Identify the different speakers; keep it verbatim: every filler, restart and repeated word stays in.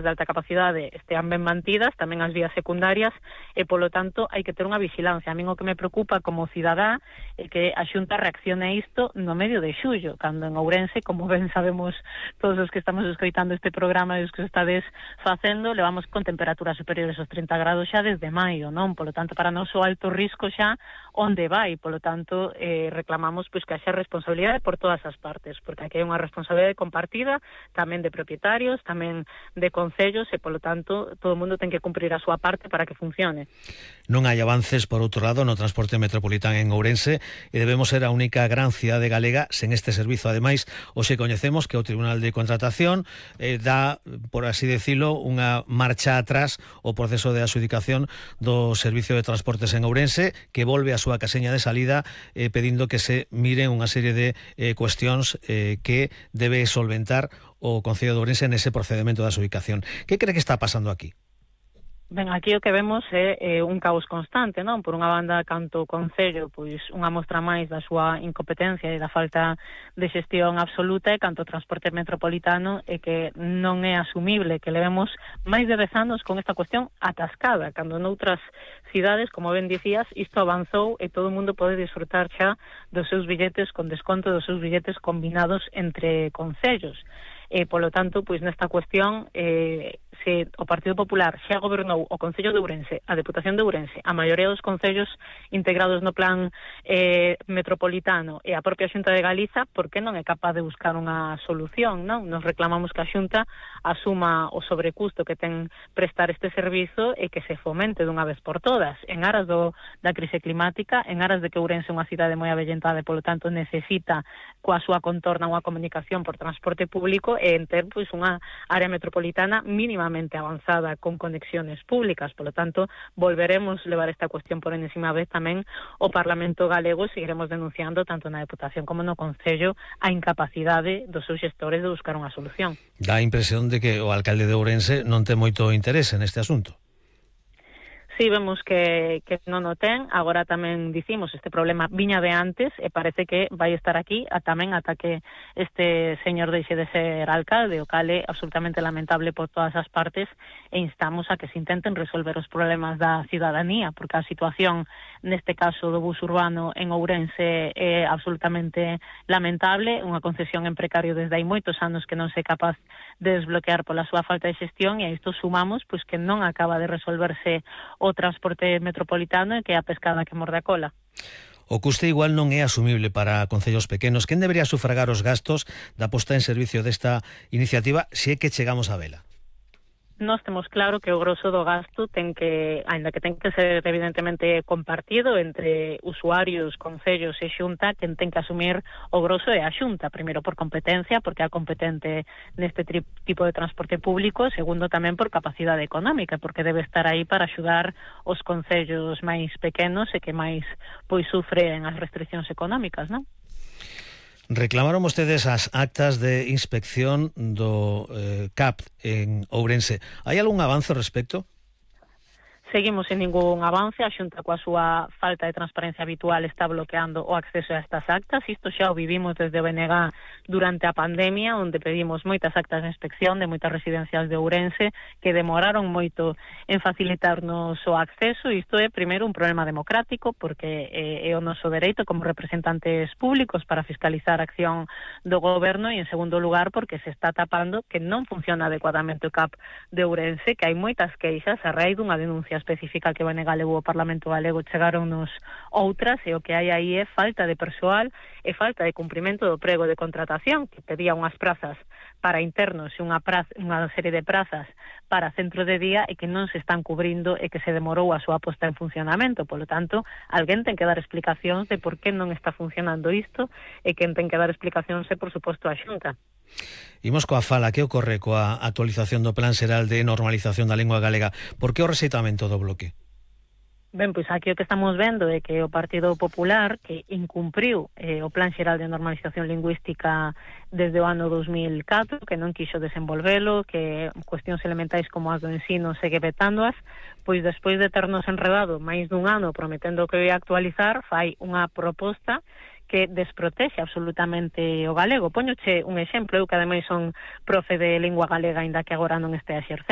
Speaker 1: de alta capacidade estean ben mantidas, tamén as vías secundarias, e polo tanto hai que ter unha vigilancia. A min o que me preocupa como cidadá é que a Xunta reaccione a isto no medio de xullo, cando en Ourense, como ben sabemos todos os que estamos escoitando este programa e os que estades facendo, levamos con temperaturas superiores aos trinta grados xa desde maio, non? Polo tanto, para nós o alto risco xa onde vai, polo tanto, eh, reclamamos pois que haxa responsabilidade por todas as partes, porque aquí hai unha responsabilidade compartida, tamén de propietarios, tamén de concellos, e polo tanto todo o mundo ten que cumprir a súa parte para que funcione.
Speaker 2: Non hai avances, por outro lado, no transporte metropolitano en Ourense, e debemos ser a única gran cidade galega sen este servizo. Ademais, hoxe coñecemos que o Tribunal de Contratación eh, dá, por así decirlo, unha marcha atrás o proceso de adxudicación do Servicio de Transportes en Ourense, que volve a súa caseña de salida eh, pedindo que se miren unha serie de eh, cuestións eh, que debe solventar o Concello de Ourense nese procedimento de adxudicación. Que cree que está pasando aquí?
Speaker 1: Ben, aquí o que vemos é, é un caos constante, non? Por unha banda, canto o Concello, pois unha mostra máis da súa incompetencia e da falta de xestión absoluta, e canto o transporte metropolitano é que non é asumible que levemos máis de dez anos con esta cuestión atascada, cando noutras cidades, como ben dicías, isto avanzou e todo o mundo pode disfrutar xa dos seus billetes con desconto, dos seus billetes combinados entre concellos. E, polo tanto, pois nesta cuestión, eh, se o Partido Popular xa gobernou o Concello de Ourense, a Deputación de Ourense, a maioría dos concellos integrados no plan eh, metropolitano e a propia Xunta de Galiza, por que non é capaz de buscar unha solución, non? Nos reclamamos que a Xunta asuma o sobrecusto que ten prestar este servizo e que se fomente dunha vez por todas, en aras do, da crise climática, en aras de que Ourense é unha cidade moi avellentada e, polo tanto, necesita coa súa contorna unha comunicación por transporte público, e en ter pois unha área metropolitana mínimamente avanzada con conexiones públicas. Polo tanto, volveremos levar esta cuestión por enésima vez tamén ao Parlamento galego, e seguiremos denunciando tanto na Deputación como no Concello a incapacidade dos seus xestores de buscar unha solución.
Speaker 2: Dá a impresión de que o alcalde de Ourense non ten moito interese neste asunto.
Speaker 1: Sí, vemos que, que non o ten. Agora tamén dicimos, este problema viña de antes e parece que vai estar aquí a tamén ata que este señor deixe de ser alcalde, o cal é absolutamente lamentable por todas as partes, e instamos a que se intenten resolver os problemas da cidadanía, porque a situación neste caso do bus urbano en Ourense é absolutamente lamentable, unha concesión en precario desde hai moitos anos que non se é capaz de desbloquear pola súa falta de xestión, e a isto sumamos pois que non acaba de resolverse o transporte metropolitano e que é a pescada que morde a cola.
Speaker 2: O custe igual non é asumible para concellos pequenos. Quen debería sufragar os gastos da posta en servicio desta iniciativa se é que chegamos a vela?
Speaker 1: Nós temos claro que o grosso do gasto ten que, aínda que ten que ser evidentemente compartido entre usuarios, concellos e Xunta, quen ten que asumir o grosso é a Xunta, primeiro por competencia, porque é a competente neste tipo de transporte público, segundo tamén por capacidade económica, porque debe estar aí para axudar os concellos máis pequenos e que máis pois sufren as restriccións económicas, non?
Speaker 2: Reclamaron vostedes as actas de inspección do eh, C A P en Ourense. Hai algún avance ao respecto?
Speaker 1: Seguimos sen ningún avance. A Xunta, coa súa falta de transparencia habitual, está bloqueando o acceso a estas actas. Isto xa o vivimos desde o B N G durante a pandemia, onde pedimos moitas actas de inspección de moitas residencias de Ourense que demoraron moito en facilitarnos o acceso. Isto é, primeiro, un problema democrático, porque é o noso dereito como representantes públicos para fiscalizar a acción do goberno, e, en segundo lugar, porque se está tapando que non funciona adecuadamente o C A P de Ourense, que hai moitas queixas a raíz dunha denuncia específica que o B N G levou ao Parlamento galego. Chegaronnos outras, e o que hai aí é falta de persoal e falta de cumprimento do prego de contratación, que pedía unhas prazas para internos e unha, praza, unha serie de prazas para centro de día, e que non se están cubrindo e que se demorou a súa posta en funcionamento. Polo tanto, alguén ten que dar explicacións de por que non está funcionando isto, e quen ten que dar explicacións é, por suposto, a Xunta.
Speaker 2: Imos coa fala. Que ocorre coa actualización do Plan Xeral de Normalización da Lingua Galega? Por que o rexeitamento do bloque?
Speaker 1: Ben, pois aquí o que estamos vendo é que o Partido Popular, que incumpriu eh, o Plan Xeral de Normalización Lingüística desde o ano dos mil catro, que non quixo desenvolvelo, que cuestións elementais como as do ensino segue vetándoas, pois despois de ternos enredado máis dun ano prometendo que ia actualizar, fai unha proposta que desprotexe absolutamente o galego. Poñoche un exemplo, eu que ademais son profe de lingua galega, aínda que agora non este exercendo.